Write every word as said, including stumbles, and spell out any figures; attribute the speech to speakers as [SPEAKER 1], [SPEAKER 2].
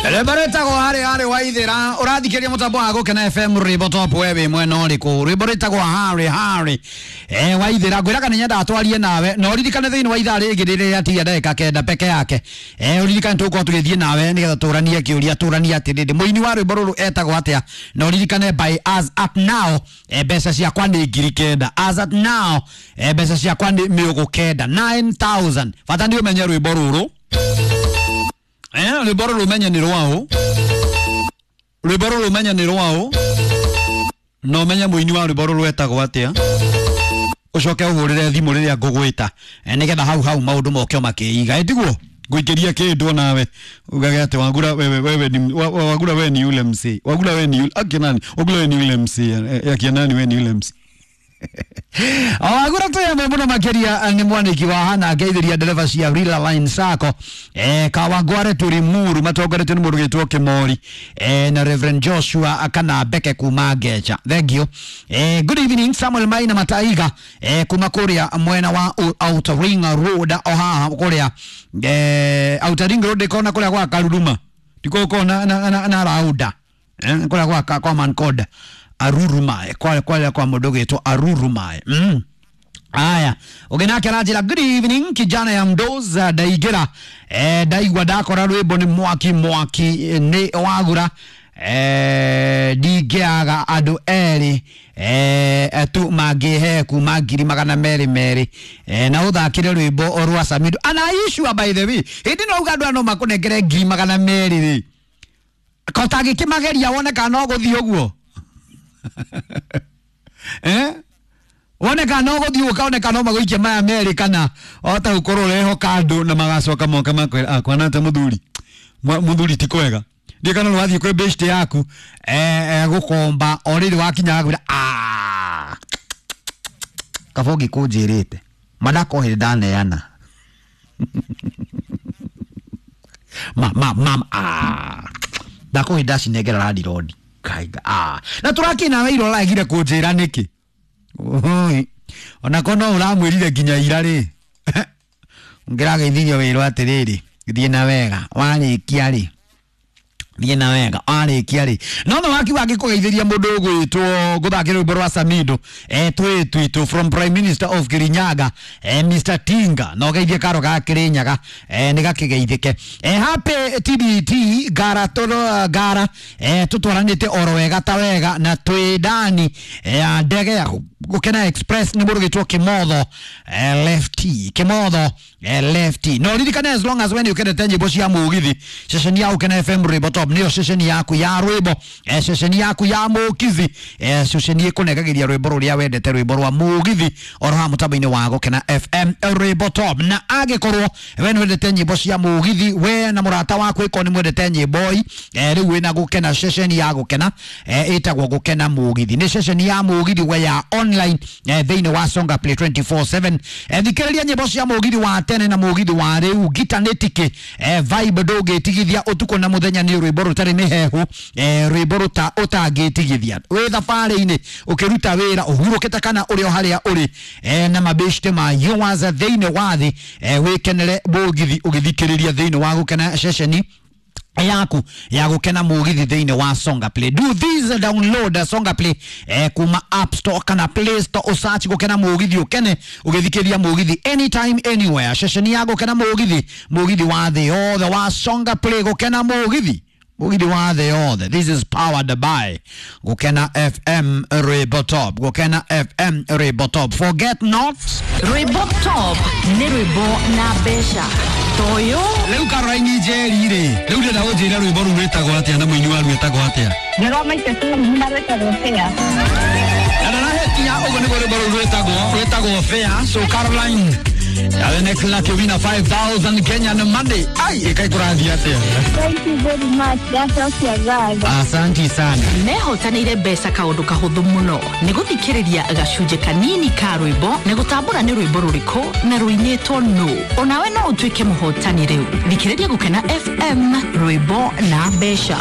[SPEAKER 1] Rwĩmbo rwĩtagwo harĩ harĩ waithĩra ũrathikĩria mũtambo wa Gũkena F M rwĩmbo top we wĩ mwena ũrĩkũ? Rwĩmbo rwĩtagwo harĩ harĩ eh waithĩra ngwĩraga nĩ nyendaga twarie nawe na ũririkane thĩinĩ wa ithaa rĩngĩ rĩrĩa rĩatigia ndagĩka kenda peke yake. Eh ũririkane tũgũkorwo tũgĩthiĩ nawe nĩgetha tũranie kĩũria tũranie atĩrĩrĩ mũini wa rwĩmbo rũrũ etagwo atĩa na ũririkane by as at now eh mbeca ciakwa nĩ ngiri kenda as at now eh mbeca ciakwa nĩ mĩũgũ kenda nine thousand bata nĩ ũmenye rwĩmbo rũrũ. Eh, rwĩmbo rũrũ ũmenye nĩ rwaũ, rwĩmbo rũrũ ũmenye nĩ rwaũ na ũmenye mũini wa rwĩmbo rũrũ etagwo atĩa ũcoke ũhũrĩre thimũ rĩrĩa ngũgwĩta nĩgetha hau hau maũndũ moke makĩiga ĩtiguo ngũikĩria kĩndũ nawe ugage atĩ Wagura wewe wewe ni Wagura wewe ni yule msee Wagura wewe ni yule akinani Wagura wewe ni yule msee akinani wewe ni yule msee. Wagura tuyamwe muno makiria ni mwaniki wa hana ngeithiria ndereba cia Rila Line Sacco eh Kawangware turi muru matongoretio ni mundu gitwo Kimori eh na Reverend Joshua akana Beke kuma Ngecha. Thank you. Eh good evening Samuel Maina Mataiga eh kuma kuria mwena wa Outer Ring Road o haha kuria eh Outer Ring Road kona kuria kwa Karuruma ndiko kona na na, na rauda eh kuria kwa kwa Mankoda Arurumae kwa kwa kwa mundu gitwo Arurumae. Mm. Aya ugenake aranjira good evening kijana ya mdoza ndaingira eh ndaigua ndakora rwimbo ni mwaki mwaki ni Wagura eh ndingiaga andu eri eh tu mangihe kuma ngiri magana meri meri eh na uthakire rwimbo rwa Samido ana issue by the way hindi no uga andu no makunengere ngiri magana meri ri kotagĩkĩmageria wone kana no gũthiĩ ũguo. Eh wone kana no gũthiĩ ũkaone no magũikie maya merĩ kana ota gũkorwo ũrehoka andũ na magacoka moka makwĩra akwana ta mũthuri mũthuri ti kwega ndiĩ kana nĩwathiĩ kwĩ beshte yaku eh gũkomba o rĩrĩ wakinya agakwĩra ah kaba ũngĩkũnjĩrĩte ma ndakohĩrĩ ndaneana ma ma ma ah ndakohĩrĩ ndacinengera landirondi kaiga ah na turakina na iro raigire kunjira niki ona kono uramwirire nginya ira ri ngirageithirio wirwo atiriri thie na wega warikia ri thie na wega warikia ri no no waki wangikugeithiria mundu ugwitwo guthakira rwimbo rwa Samido eh twi twitũ from Prime Minister of Kirinyaga eh Mister Tinga no geithie karo ga Kirinyaga eh ni gakigeithike eh happy T B T gara toro gara eh tutwaranite oro wega ta wega na twi ndani ya ndege ya Gukena Express ni mundu gitwo Kimotho eh lefty Kimotho eh lefty no ririkane as long as when you kendete nyimbo cia mugithi ceceni ya Gukena F M rwimbo top niyo ceceni yaku ya rwimbo eh ceceni yaku ya mugithi eh ceceni ikunengagiria rwimbo ruria wendete rwimbo rwa mugithi oro ha mutambo-ini wa Gukena F M rwimbo top na angikorwo we ni wendete nyimbo cia mugithi we na murata waku iko ni mwendete nyimbo i eh riu wina Gukena ceceni ya Gukena eh itagwo Gukena mugithi ni ceceni ya mugithi we ya online eh thĩinĩ wa Songa Play twenty-four seven eh thikĩrĩria nyĩmbo cia mũgithi wa tene na mũgithi wa rĩu gita nĩtiki eh vibe ndũngĩtigithia ũtukũ na mũthenya nĩ rwĩmbo rũtarĩ mĩhehu eh rwĩmbo rũta ũtangĩtigithia wĩ thabarĩ-inĩ ũkĩruta wĩra ũhurũkĩte kana ũrĩ o harĩa ũrĩ eh na mabeshte ma yours thĩinĩ wa thĩ eh wĩkenere mũgithi ũgĩthikĩrĩria thĩinĩ wa Gukena ceceni yaku ya Gukena mugithi thĩinĩ wa Songa Play. Do this download Songa Play eh, kuma App Store kana Play Store usearch Gukena mugithi ukene ugithikiria mugithi anytime anywhere ceceni ya Gukena mugithi mugithi wa thĩ yothe wa Songa Play Gukena mugithi mugithi wa thĩ yothe. This is powered by Gukena F M Rwimbo Top. Gukena F M Rwimbo Top. Forget not
[SPEAKER 2] Rwimbo Top ni rwimbo na mbeca toyo
[SPEAKER 1] riu Caroline Njeri ri riu ndĩrenda ũnjĩre rwĩmbo rũu rwĩtagwo atĩa na mũini waruo etagwo atĩa.
[SPEAKER 3] Nĩ rwa Maite Tumi na rwĩtagwo Fair.
[SPEAKER 1] Na ndarahetia ũguo nĩguo rwĩmbo rũu rwĩtagwo rwĩtagwo Fair. So Caroline the next lucky winner five thousand Kenyan money. Ai ikai kũrathiĩ atĩa?
[SPEAKER 3] Thank you very much. Ndacokia ngatho.
[SPEAKER 1] Asanti sana.
[SPEAKER 2] Mehotanĩire mbeca kaũndũ kahũthũ mũno nĩ gũthikĩrĩria gacunjĩ kanini ka rwĩmbo na gũtambũra nĩ rwĩmbo rũrĩkũ na rũinĩtwo nũ onawe no ũtuĩke mũhotani rĩu thikĩrĩria Gukena F M rwĩmbo na mbeca.